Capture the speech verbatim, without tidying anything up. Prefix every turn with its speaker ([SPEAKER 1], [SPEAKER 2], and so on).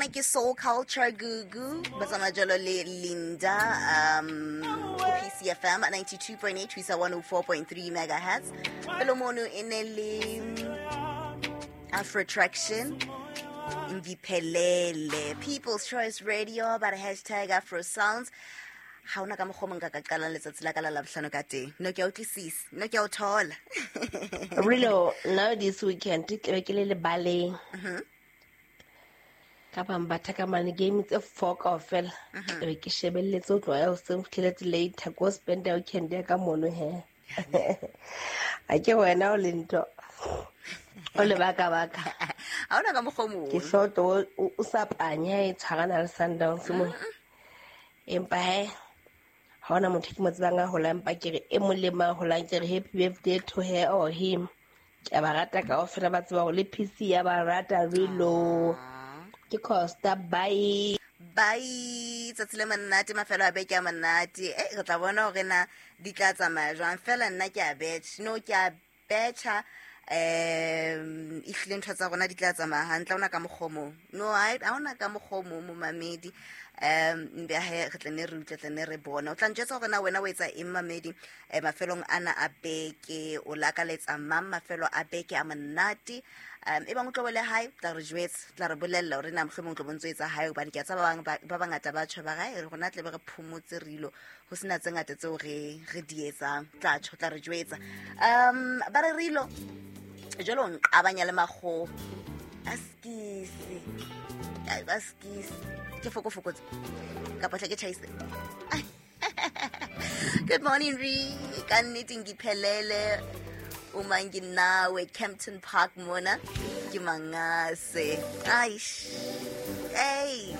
[SPEAKER 1] Ke Soul Culture Gugu ba tsamaya jalo le Linda um go P C F M ninety-two point eight ho isa one oh four point three megahertz. Pele mono e ne le Afro Traction, Ngiphelele. People's Choice Radio ba re hashtag Afro Sounds. Ha ona ka mokgwa o mong ka ka qalang letsatsi la ka la Labohlano ka teng. No, ke a utlwisisa, no, ke a o thola.
[SPEAKER 2] Rilo, now this weekend ke be ke le lebaleng ka bang batha ka mane game tse four kaofela. Ke be ke shebelletse ho tloha ya hoseng ho fihleletse later, ko spend weekend ya ka mono. He, a ke wena o le ntho o le baka baka.
[SPEAKER 1] Ha ona ka mokgwa o mong.
[SPEAKER 2] Ke hloto o o sa panya e tshwarana le Sundowns mo, empa he, ha hona motho ke mo tsebang a holang, empa ke re e mong le mang holang, ke re happy birthday to her or him. Ke a ba rata kaofela, ba tseba hore le P C ya ba rata. Rilo, ke Costa, bye.
[SPEAKER 1] Bye, tsatsi le monate, mafelo a beke a monate. E re tla bona hore na di tla tsamaya jwang. Fela nna ke a betjha, no, ke a betjha um ehlile ntho tsa rona di tla tsamaya hantle. Ha ona ka mokgwa o mong, no, ha ha ona ka mokgwa o mong, momamedi. um mbe he, re tla ne re utlwe, tla ne re bona. O tla njwetsa hore na wena o etsa eng, mamedi, um mafelong ana a beke. O lakaletsa mang mafelo a beke a monate? um e bang o tlo bo le hae, tla re jwetsa, tla re bolella hore na mohlomong o tlo bo ntso etsa hae, hobane ke a tseba ba bang ba ba bangata ba tjho ba re rona tle be re phomotse, rilo ho sena tse ngata tseo re re di etsang. Tla tjho, tla re jwetsa. um ba re rilo jalo o nqabanya le makgowa a skisi. Ai, ba skisi ke fokofokotse kapa hle ke tjhaise. Good morning, re ka nnete ngiphelele uma nginawe Kempton Park mona ke mangase. Aish, hey.